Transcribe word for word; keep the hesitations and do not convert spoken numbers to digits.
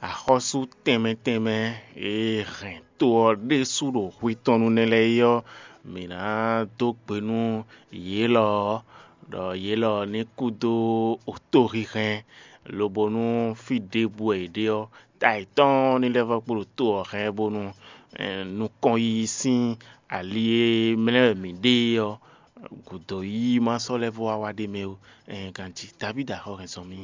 Axɔ́sú tɛnmɛ tɛnmɛ e hɛn to ɔ́ ɖésú ɖo hwi tɔn nu nɛ́ lɛ́ɛ é ɔ́, mǐ ná dó gbe nú yě lɔ ɔ́, ɖɔ yě lɔ ní kú dó otóhíhɛ́n, lobo nú fí ɖěbǔ wɛ yě ɖe ɔ́, ta yětɔn ní lɛ́ vɔ́ kpo ɖo to ɔ́ hɛn bónú nukɔn yiyi sín ali e mlɛ́ wɛ mǐ ɖe é ɔ́, gǔdo yiyi ma sɔ́ lɛ́ vɔ́ wá wá ɖ'é mɛ ó. Ganjí Davídi axɔ́ hɛn zɔn mì.